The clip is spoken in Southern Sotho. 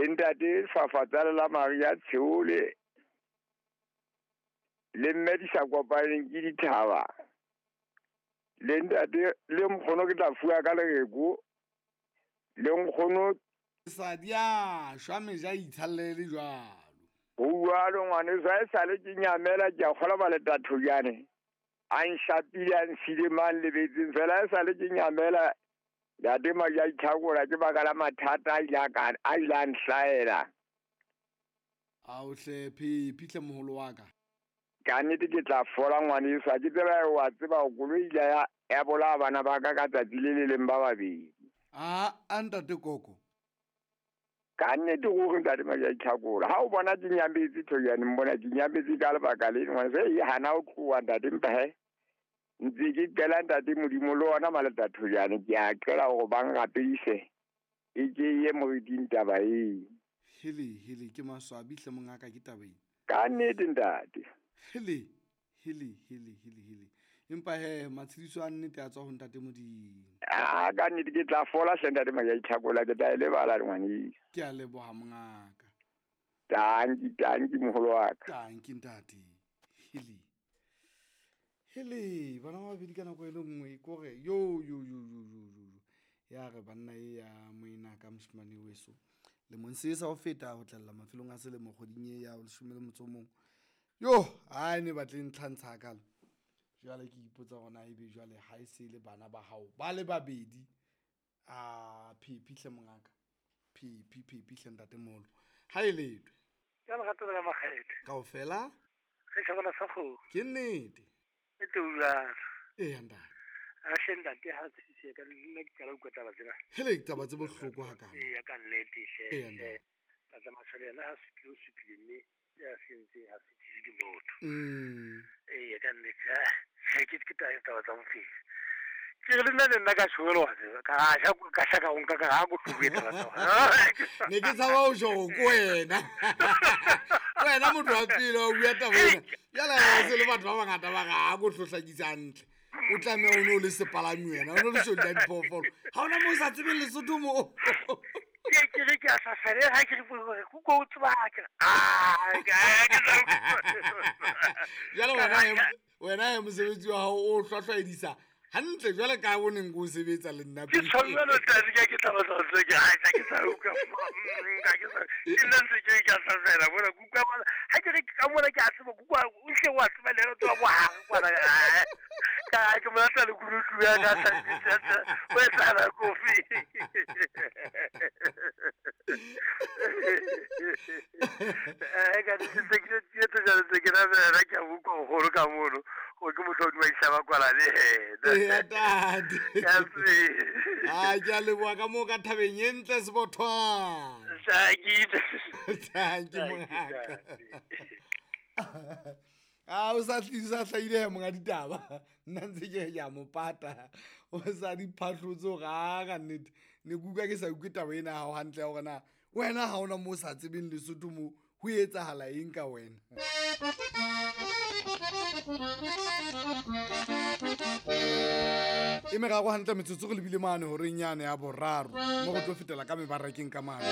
Le ntate Fafatsale la Maria Tsheole. Le mme di sa kopaneng ke dithaba. Le ntate le nkgono ke tla fuwa ka lereko. Le nkgono sa di a shwa meja itshallele jwalo. Ho jwalo ngwaneso, ha e sale ke nyamela ke a kgola ba le tathojane. A nshapile a nsile mang lebetseng fela e sale ke nyamela ntate Maja Itlhakola ke baka la mathata a ile a nhlaela. Ao hle Phephi hle moholo wa ka. Ka nnete ke tla fola ngwaneso, ha ke tseba wa tseba koloi ile ya bolaya bana ba ka ka tsatsi le le leng ba babedi. A ntate Koko. Ka nnete ruri ntate Maja Itlhakola. Ha o bona ke nyametse Thojane, mbona ke nyametse ka lebaka le ngwaneso e hana ho tloha ntate mpa he. Ntse ke qela ntate Modimo le ona maleta Thojane ke a qela hore ba nrapedise e ke ye moriting taba e. Hele hele ke maswabi hle mongaka ke taba e. Ka nnete ntate. Hele hele hele hele hele. Empa he matshediso a nnete a tswa ho ntate Modimo. A ka nnete ke tla fola hle ntate Maja Itlhakola ke tla e lebala ngwaneso. Ke a leboha mongaka. Tanki tanki moholo wa ka. Tanki ntate. Hele. Hele bana ba babedi ka nako e le nngwe kore yo yo yo yo yo yo. Ya re banna e ya moena ka moshemane weso. Le mong se sa ho feta ho tlalla mafelong a selemo kgweding e ya 11. Yo, a ne batle ntlhantsha kalo. Jwale ke ipotsa hore na ebe jwale ha e se le bana ba hao ba le babedi. A Phephi hle mongaka. Phephi Phephi hle ntate moholo. Ha e letwe. Ka lerato la Makgethe. Kaofela? Re tjhabana sa kgomo. Ke nnete. E tloulana. Eya ntate. A hle ntate ha tshise ka nna ke qala utlwa taba tsena. Hele taba tse bohloko ha kana. Eya ka nnete hle. Eya ntate. Tata Mashole yena ha supile o supile mme ya sentse ha se tsebe ke motho. Eya ka nnete. Ke ke taba tsa bophelo. Ke re le nna ka tshwelo wa tseba ka sha ka sha ka nka ka ha go tlobe taba tsa. Ne ke tshaba ho tjho ko wena. Wena motho wa pele o bua taba ena. Jwale ha se le batho ba bangata ba ga go hlohlakisa hantle. O tlameha o no le sepalami wena, o no le shodi ya diphoofolo. Ha ona mo sa tsebeng Lesotho mo. Ke re ke a sasele ha ke re go go tseba ke. Jwale wena mosebetsi wa hao o hlwahlwaedisa hantle jwale ka o neng o sebetsa le nna Ke tshwanelo tla ke taba tsa tse ke ha ke sa utlwa ka ke sa ke nna ntse ke ka sasela bona kuka bona ha ke re ka mona ke a tseba kuka o hle wa tseba le re tswa bohare kwana ka ke mo tla le kurutu ya ka sa o etsa kofi. Ka di se ke tse tsa ke na ra ke a utlwa hore ka mono o ke motho o dumaisa ba kwala le ena. Ntate. A ke a leboha ka moo ka thabeng e ntle Sebothwana. Thank you mongaka. A o sa tlisa hlahile monga ditaba. Nna ntse ke ya mo pata. O sa di phahlotse hore a ka nnete. Ne kuka ke sa utlwe taba ena ha hantle hore na wena ha ona mo sa tsebeng Lesotho mo ho etsahala eng ka wena. E meraro hantle metsotso re lebile mane horeng yane ya boraro mo re tlo fetela ka mebarakeng ka mane.